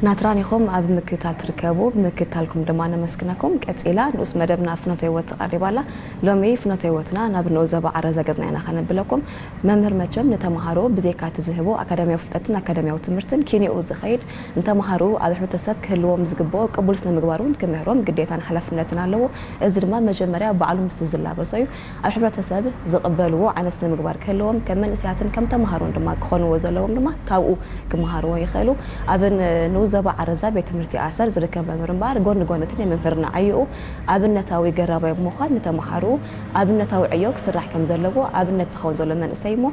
ናትራን ኢኹም ኣብ ምክትታል ትርከቡ፣ ብምክትታልኩም ድማ ነመስግነኩም። ቀጺላ ንኡስ መደብና ፍኖተ ህይወት ትቐርብ ኣላ። ሎሚ ፍኖተ ህይወትና ናብ ንኡስ ዞባ ዓረዛ ገጽና ኢና ከነብለኩም። መምህር መቸም ንተምሃሮ ብዘይካ እቲ ዝህቦ ኣካዳሚያዊ ፍልጠትን ኣካዳሚያዊ ትምህርትን ኪንኡ ዝኸይድ ንተምሃሮ ኣብ ሕብረተሰብ ክህልዎም ዝግብኦ ቅቡል ስነ ምግባር እውን ክምህሮም ግዴታን ሓላፍነትን ኣለዎ። እዚ ድማ መጀመርያ ባዕሉ ምስ ዝላበሶ እዩ። ኣብ ሕብረተሰብ ዝቕበልዎ ዓይነት ስነ ምግባር ክህልዎም ከም መንእሰያትን ከም ተምሃሮን ድማ ክኾንዎ ዘለዎም ድማ ካብኡ ክመሃርዎ ይኽእሉ። ኣብ ንኡስ ዞባ ዓረዛ ቤት ትምህርቲ ኣሰር ዝርከብ መምህር እምበኣር ጎኒ ጎኒ እቲ ናይ መምህርና ዕዮኡ ኣብነታዊ ገራባይ ብምዃን ንተምሃሮኡ ኣብነታዊ ዕዮ ክስራሕ ከም ዘለዎ ኣብነት ዝኸውን ዘሎ መንእሰይ እሞ